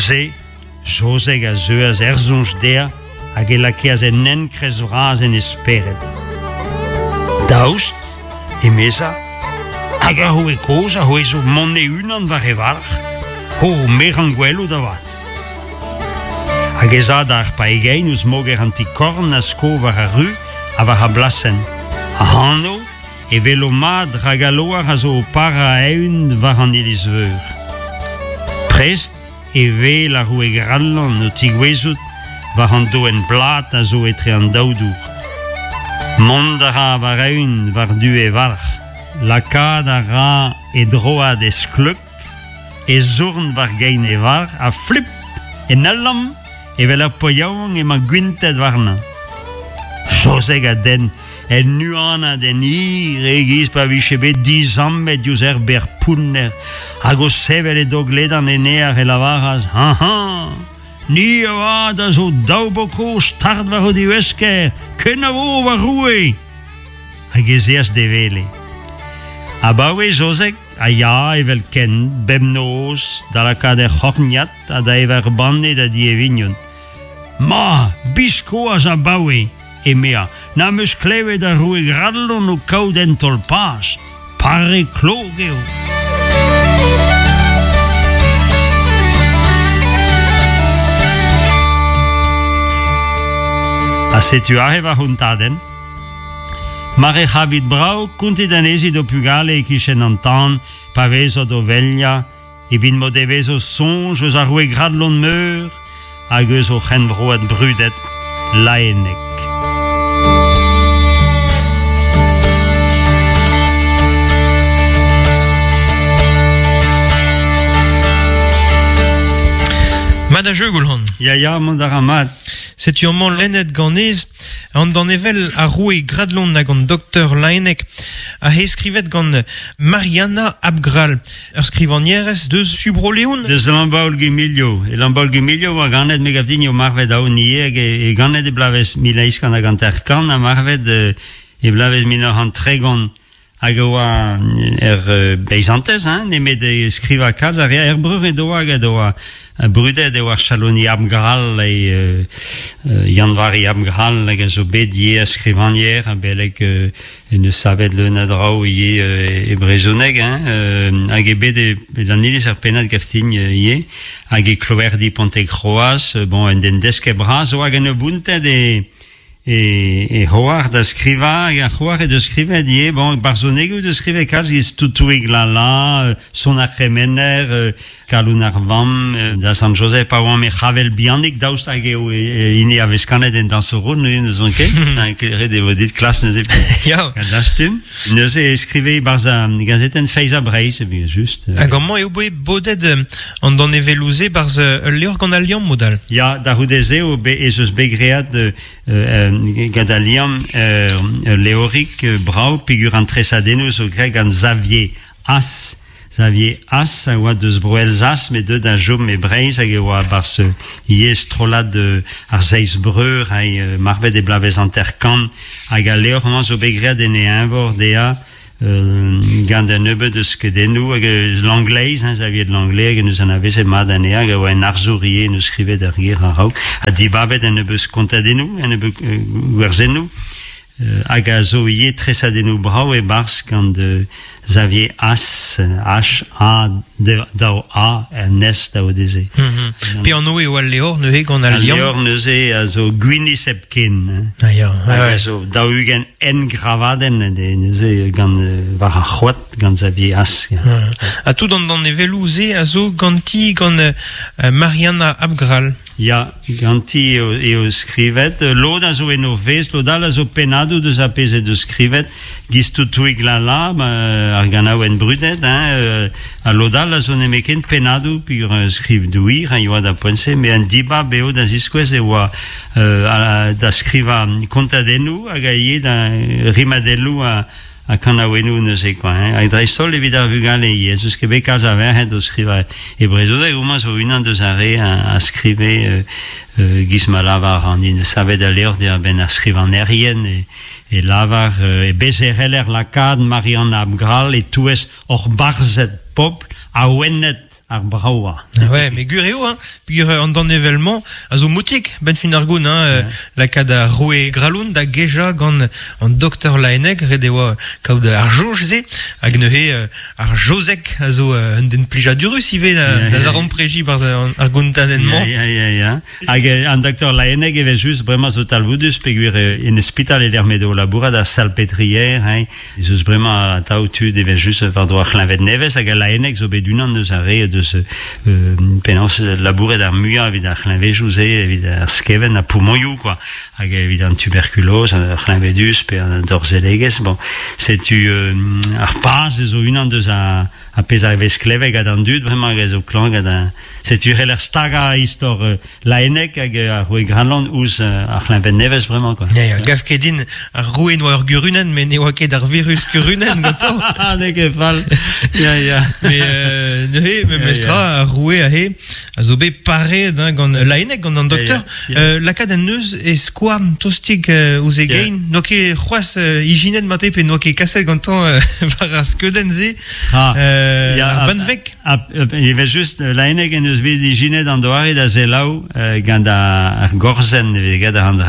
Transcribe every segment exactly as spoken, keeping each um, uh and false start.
Neuze, Jozeg a zeuaz er soñj dezhañ hag e lakeas en enkrez vras en e spered. Daoust, emezañ, hag ar roue kozh a c'houezo mont e-unan war e varc'h, ho meran gwelout avat. Hag ez a d'ar paegein ouzh moger an ti-korn a sko war ar ru ha war ar blasenn. Ac'hano e welo mat rak al loar a zo o parañ a-eeun war an iliz-veur. Prest e wel ar roue Gradlon o tigouezout war an doenn blat a zo etre an daou dour. Mont a ra war-eeun war-du e varc'h, lakaat a ra e droad e skleuk, e zourn war gein e varc'h ha flip en ul lamm evel ur paotr yaouank emañ gwintet warnañ. Jozeg a denn en huanad en hir e-giz pa vije bet dizammet diouzh ur bec'h pounner hag o sevel e dog ledan en aer e lavaras Hañ-hañ, ni avat a zo daou boko start war o divesker, kenavo va roue! Hag ez eas d'e wele. Abaoe Jozeg a ya evel ken bemnoz da lakaat er c'horniad ha da evañ ur banne da di e vignon. Ma, biskoazh abaoe, emezañ, n'am eus klevet ar roue Gradlon o kaout un taol paz, pare klok eo. Ha setu aze va c'hontadenn. Mar he c'havit brav, kontit anezhi d'ho pugale e-kichen an tan, pa vezot o veliañ, evit m'o devezo soñj eus ar roue Gradlon Meur hag eus o c'henvroad brudet Laenneg. Mat a jeu, Goulc'han. Ya, ya, mont a ra mat. Setu amañ lennet ganez an danevell ar roue Gradlon hag an doktor Laenneg a he skrivet gant Marianna Abgrall, ur skrivagnerez deus su Bro-Leon. Deus Lambaol-Gwimilio. E Lambaol-Gwimilio oa ganet me gav din eo marvet aon ivez hag e, e ganet e bloavezh mil eizh kant hag hanter-kant ha marvet e bloavezh mil nav c'hant tregont. Hag e oa er beizantez, hein, nemet e skrivañ kalz a rea er breur edo hag edo oa brudet eo ar chaloni Abgrall e euh, Yann-Vari Abgrall hag a zo bet ivez a skrivagner a beleg euh, en eus savet leun a draoù ivez euh, e brezhoneg, hein, euh, hag e bet e, an iliz ar pennad gaftign ivez hag e kloerdi Pontekroaz, bon, un den desket bras oa hag en ur bountet e e, e c'hoar da skrivañ, hag ar c'hoar e deus skrivet ivez, bon, barzhonegoù deus skrivet kalz giz Toutouig Lala, Son ar c'hemener, Kaloun ar vamm, da Sant Joseph pa oamp e c'havel bihanik, daoust hag eo hini a vez kanet en dañsoroù, neuze n'eus ket, ret e vo dit klas neuze. Ya. Dastum. Neuze e skrive barzh ar gazetenn Feiz ha Breizh, e just. Hag amañ eo bet bodet an danevelloù-se barzh ul levr gant al liamm modal. Ya, da c'houde-se eo ez eus bet graet gant al liamm ul levrig brav peogwir an tresadennoù zo graet gant Xavier As. Xavier As a oa deus Bro-Elzas, met deut da chom e Breizh hag e oa barzh ivez strollad ar Seizh Breur hag marvet e bloavezh hanter-kant hag al levr-mañ zo bet graet en e eñvor dezhañ gant un nebeud eus skeudennoù hag eus Langleiz, hein, Xavier de Langlais hag eus anavezet mat anezhañ hag a oa un arzour ivez en eus skrivet ar ger a-raok ha dibabet un nebeud kontadennoù, un nebeud gwerzennoù hag a zo ivez tresadennoù brav e-barzh gant Xavier As, H A daou A N S daou D Z. Pe anv eo al levr neuze gant al liamm? Al levr neuze a zo gwinizh hepken. Ah ya, hag a zo daou-ugent engravadenn neuze gant war ar c'hoad gant Xavier As. Ha tout an danevelloù-se a zo ganti gant Marianna Abgrall. Ya, ganti eo, eo skrivet. Lod a zo en o fezh, lod all a zo pennadoù deus ar pezh he deus skrivet. Giz Toutouig Lala, ar ganaouenn brudet, hein, ha lod all a zo nemetken pennadoù peogwir skriv douir, hein, yoa da poent-se, met un dibab eo da ziskouez e oa euh, da skrivañ kontadennoù hag a ivez da rimadelloù a ha kanaouennoù neuze quoi, hein. Hag dreist-holl evit ar vugale ivez, eus ket bet kalz a verc'hed o skrivañ e brezhoneg, homañ zo unan deus ar re a, a skrive euh, euh, giz ma lavar an hini savet al levr diwar-benn ar skrivagnerien e, e lavar euh, e bez e c'heller lakaat Marianna Abgrall e-touez hor barzhed pobl awenet ar braoa. Ouais, mais gur eo, hein, peogwir an danevell-mañ a zo moutik, ben fin ar goun, hein, ouais. Lakaat ar roue Gralon da geja gant an doktor Laenneg, ret e oa kaout ar soñj-se, hag neuze ar Jozek a zo un den plijadurus ivez da, da zarempreji barzh ar gontadenn-mañ. Ya, ya, ya. Hag an doktor Laenneg evel just bremañ zo talvoudus, peogwir en ospital e lec'h m'edo o labourat ar Salpêtrière, hein, ez eus bremañ atav tud evel just war-dro ar c'hleñved nevez, hag al Laenneg zo bet unan eus ar re deus euh, penaos labouret ar muiañ evit ar c'hleñvejoù-se, evit ar skeven, ar poumonioù, quoi, hag evit an tuberkuloz, ar c'hleñvedus pe an dorzelegezh. Bon, setu euh, ar paz zo unan deus a, a pezh a vez klevet gant an dud, bremañ hag a zo klañv gant an... Setu c'heller stagañ istor euh, Laenneg hag ar roue Gralon ouzh ar c'hleñved nevez bremañ, quoi. Ya, ya, gav ket din ar roue n'oa ur gurunenn, met ne oa ket ar virus kurunenn gantañ. N'eo ket fall. Ya, ya. Mais euh, neuze, memestra, ar roue aze a zo bet pareet, hein, gant Laenneg, gant an doktor. Ya, ya. Euh, lakaat an neuz e skouarn tostik euh, ouzh e gein. N'oa ket c'hoazh euh, ijinet mate pe n'oa ket kaset gantañ euh, war ar skeudenn-se. Ah, euh, ya, ar benveg. Evel just, Laenneg en deus bet ijinet an doare da selaou euh, gant ar gorzenn evit get ar an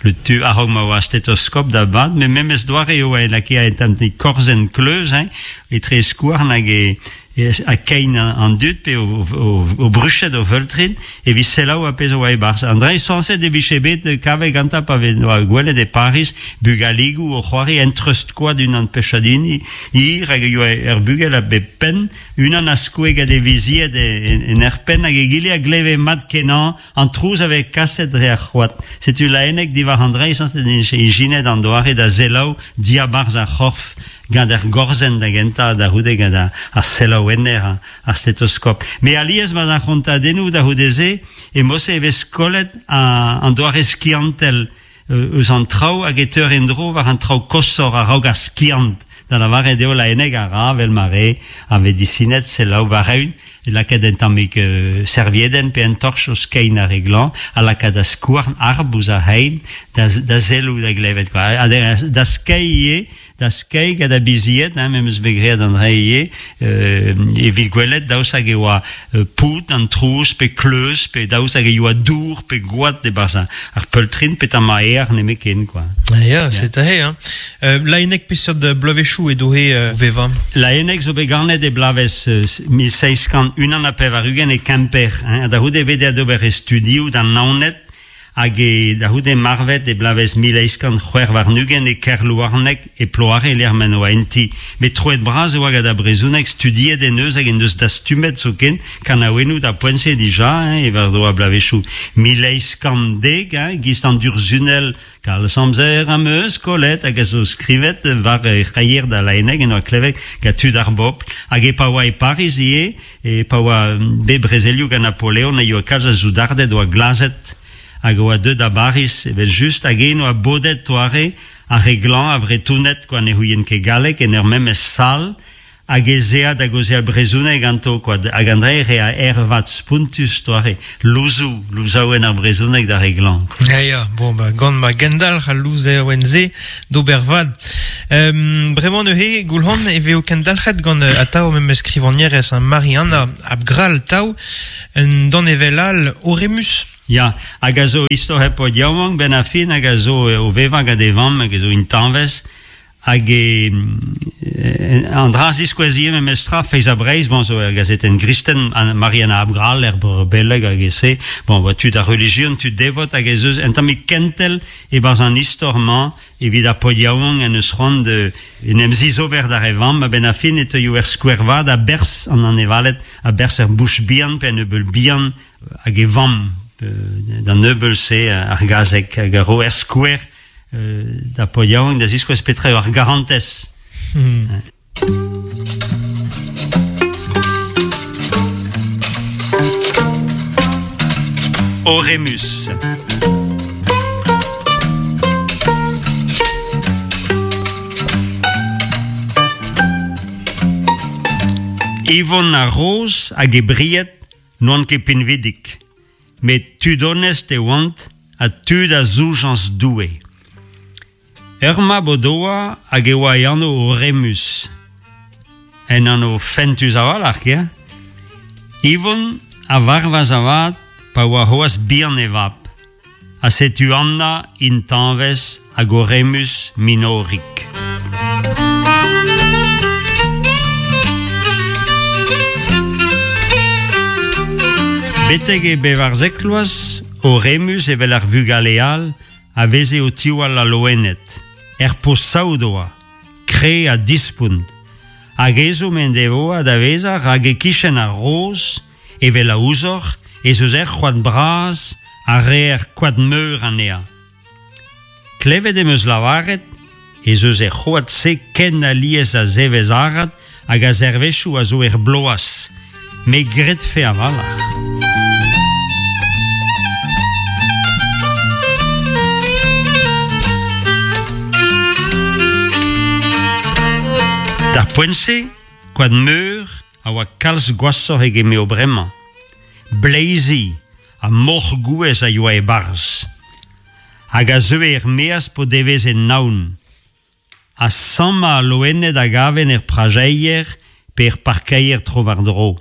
le tu a-raok ma oa stetoskop da bad, met memes doare eo e lakaet un tamm korzenn kleuz, hein, etre skouarn hag e a kein an dud pe o, o, o bruchet o veultrin evit selaou a pezh oa e-barzh. An dre sañset e vije bet kavet gantañ pa vez oa gwelet e Paris bugaligoù o c'hoari en treust koad unan pechadini hir hag e oa ur bugel a bep penn, unan a skoe gant e vizied en, en er penn hag egile a gleve mat kenañ an trouz a vez kaset dre ar c'hoad. Setu Laenneg diwar an dre sañset ijinet an doare da selaou diabarzh ar c'horf gant ar gorzenn da gentañ da c'houde gant ar, ar selaouenner, ar, ar stetoskop. Me alies ma ar c'hontadennoù da c'houde-se e mose e vez kollet an doare skiantel eus an traoù hag e teur en-dro war an traoù koshoc'h a-raok ar skiant. Da lavaret eo Laenneg a ra vel ma re ar medisined selaou war-eeun, e lakaat un tammig euh, serviedenn pe un torch o skein ar re glañv, a lakaat a skouarn arb ouzh ar c'hein da, da selloù da glevet, quoi. Ha da, da skeiñ ivez, da skeiñ gant a bizied, hein, me'm eus bet graet an dre ivez, euh, evit gwelet daoust hag e oa euh, pout an trouz pe kleuz pe daoust hag e oa dour pe gwad e-barzh ar peultrin pe tamm aer nemetken, quoi. Ya, ya, c'est aze, hein. Euh, Laenneg peseurt bloavezhioù edo he euh, vevañ? Laenneg zo bet ganet e bloavezh euh, mil seizh kant unan ha pevar-ugent e Kemper, hein, da c'houde bet d'ober e studioù d'an Naoned hag e da c'houde marvet e bloavezh mil eizh kant c'hwec'h warn-ugent e Kerlouarneg e Ploare lec'h m'en oa enti. Met troet bras e oa gant ar brezhoneg studiet en eus hag en deus dastumet zoken kanaouennoù da poent-se dija, hein, e war-dro ar bloavezhioù mil eizh kant dek, hein, giz an durzhunell kalz amzer am eus kollet hag a zo skrivet war c'haier da Laenneg en oa klevet gant tud ar bobl. Hag e pa oa e Pariz ivez, e pa oa bet brezelioù gant Napoleon e oa kalz a soudarded oa glazet hag oa deuet da Bariz evel just hag en oa bodet toare ar re glañv a Vretoned quoi, ne c'houient ket galleg en ur memes sal hag ez ea da gaozeal brezhoneg ganto, quoi. Hag an dre re a ervat spontus toare louzoù, louzaouenn ar brezhoneg d'ar re glañv. Ya, ya, bon, ba, gant ma gendalc'h al louzaouenn-se d'ober vad. Euh, bremañ neuze, Goulc'han, e vezo kendalc'het gant atav memes skrivagnerez, hein, Marie-Anna Abgrall tav, un danevell all Oremus. Ya, hag a zo istor hep paotr yaouank ben a fin hag a zo o vevañ gant e vamm hag a zo intañvez hag e an dra ziskouez ivez memestra Feiz ha Breizh, bon, zo ur gazetenn gristen, Marie-Anna Abgrall, er beleg hag e se, bon, oa tud ar relijion, tud devot hag ez eus un tammig kentel e-barzh an istor-mañ evit ar paotr yaouank en eus c'hoant de en em zizober d'ar e vamm, a-benn ar fin e teuio er skouer vat a-berzh an anevaled, a-berzh er bouch bihan pe an ebeul bihan hag e vamm d'an ebeul-se ar gazeg hag a ro er skouer da paotr yaouank da ziskouez petra eo ar garantez. Hmm. Oremus. Yvon ar Roz hag e bried n'oant ket pinvidik, met tud onest e oant ha tud a zoujañs Doue. Ur mab o doa hag e oa e anv Oremus. En anv fentus a-walc'h, ya? Ivon a varvas avat pa oa c'hoazh bihan e vab, ha setu Anna intañvez hag Oremus minorik. Betek e bevarzek vloaz, Oremus evel ar vugale all a veze o tiwall al loened, er posaout oa, kre ha dispont, hag ezhomm en devoa da vezañ rak e-kichen ar roz, evel a ouzoc'h, ez eus er c'hoad bras a reer koad meur anezhañ. Klevet em eus lavaret ez eus er c'hoad-se ken alies a zevezh arat hag a zervezhioù a zo er bloaz, me gredfe a-walc'h. D'ar poent-se, koad meur a oa kalz gwashoc'h eget m'eo bremañ. Bleizi ha moc'h gouez a yoa e-barzh. Hag a zeue er-maez p'o deveze naon. Ha sammañ al loened a gaven er prajeier pe er parkeier tro-war-dro.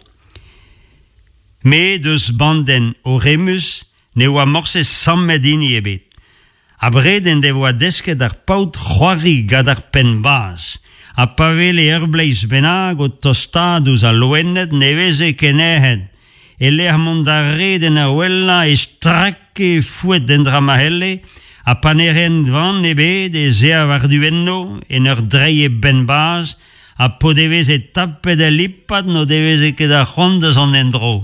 Met eus bandenn Oremus ne oa morse sammet hini ebet. Abred en devoa desket ar paotr c'hoari gant ar penn-bazh. Ha pa wele ur bleiz bennak o tostaat ouzh al loened ne veze ket nec'het. E lec'h mont d'ar red en ur wellañ e strake fouet endra ma c'helle, ha pa ne raent van ebet ez ea war-du enno en ur dreiñ e benn-bazh, ha p'o deveze tapet al lipad n'o deveze ket ar c'hoant da zont en-dro.